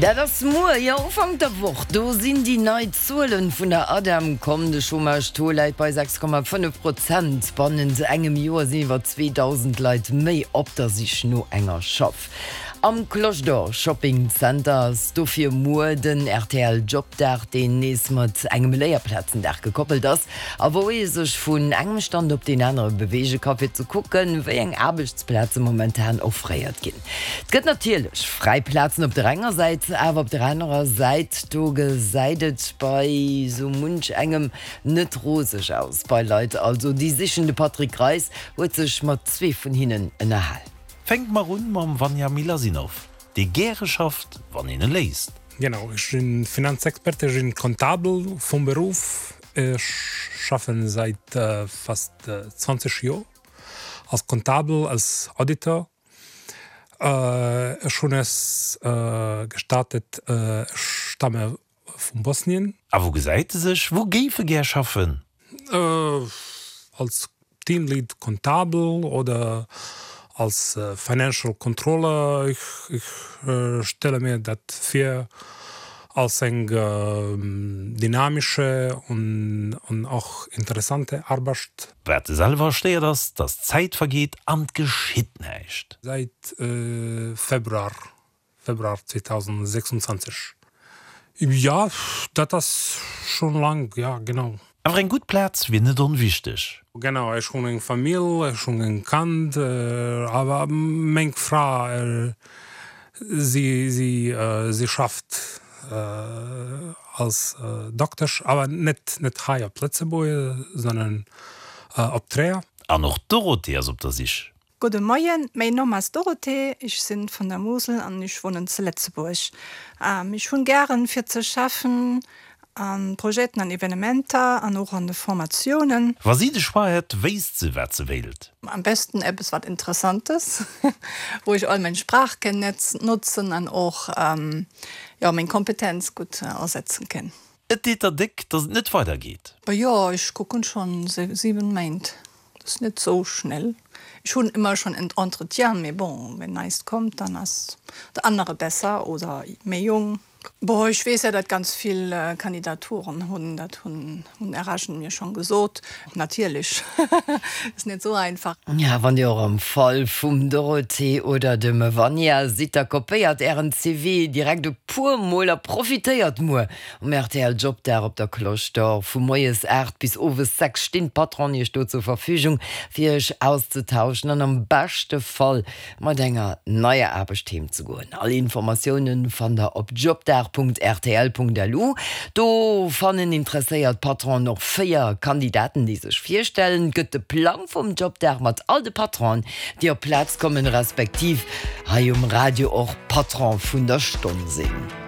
Dat ass muer, jo Ufank der Woch, do sinn déi nei Zuelen vun der ADEM komm. De Chômage-Taux läit bei 6,5 Prozent. Bannent engem Joer sinn iwwer 2.000 Leit méi op der Sich no enger Schaff. Am Cloche d'Or Shopping Center ass dofir muer den rtl Jobdag, deen nees mat engem Léierplazendag gekoppelt ass a wou ee sech vun engem Stand op deen anere beweege ka fir ze kucken, wéi eng Aarbechtsplaze momentan offréiert ginn. Et gëtt natierlech fräi Plazen op der enger Säit, awer op der anerer Säit, do gesäit et bei sou munch engem net roseg aus. Bei Leit also, déi sichen. De Patrick Greis huet sech mat zwee vun hinnen ënnerhal. Fänke mer un mam Vanja Milasinov, dee gäre schafft, wann een e léisst. Genau, ech sinn Finanzexperte, ech sinn Comptabel vum Beruff. Ech schaffen säit fast 20 Joer als Comptabel, als Auditor. Ech hunn es gestartet, ech stamme vum Bosnien. A wou gesäit e sech? Wou géif e gär schaffen? Als Teamlead Comptabel oder als Financial Controller. Ech stelle mir dat vir als eng dynamische und och interessante Arbecht. Wat e selwer stéiert ass, datt d'Zäit vergeet an 't geschitt näischt. Säit Februar, Februar 2026, jo, dat ass schonn laang, jo, genau. Awer eng gutt Plaz wier net onwichteg. Genau, ech hunn eng Famill, ech hunn en Kand, awer meng Fra, si, si, si schafft als Doktesch, awer net net hei op Lëtzebuerg, sondern op Tréier. An och d'Dorothee ass op der Sich. Gudde Moien, méin Numm ass Dorothee, ech sinn vun der Mosel an ech wunnen ze Letzebuerg. Ech hunn gären fir ze schaffen an Projeten an Evenementer an och an de Formatiounen. Wa si de Choix hätt, wéisst se wat se wéilt. Am besten eppes wat Interessantes, wou ech all meng Sprachkenntnetz notzen an och jo meng Kompetenz gutt asetzen kenn. Et deet der déck, datt et net weider geet. Jo, ech kucken schon 7 Méint, dat ass net sou schnell. Ech hunn ëmmer schon en Entretien, mee bon, wenn neist kommt, dann ass de anere besser oder méi jong. Bon, ech weess ja, datt ganz vill Kandidaturen hunn, dat hunn RHen mir schon gesot. Natierlech ass net sou einfach. Ja, wann dir och am Fall vum Dorothee oder dem Vanja sidd, da kopéiert ären CV direkt e puer mol a profitéiert muer um rtl Jobdag op der Cloche d'Or. Vu moies 8 bis owes 6 stinn d'Patronen iech do zur Verfügung, fir iech auszetauschen an am beschte Fall mat enger neier Aarbecht heem ze goen. All Informatiounen fannt der op jobdag.rtl.lu. Do fannen interesséiert Patronen och 4 Kandidaten déi sech virstellen. Et gëtt de Plang vum Jobdag mat all de Patronen déi op d'Plaz kommen, respektiv hei um Radio och Patron vun der Stonn sinn.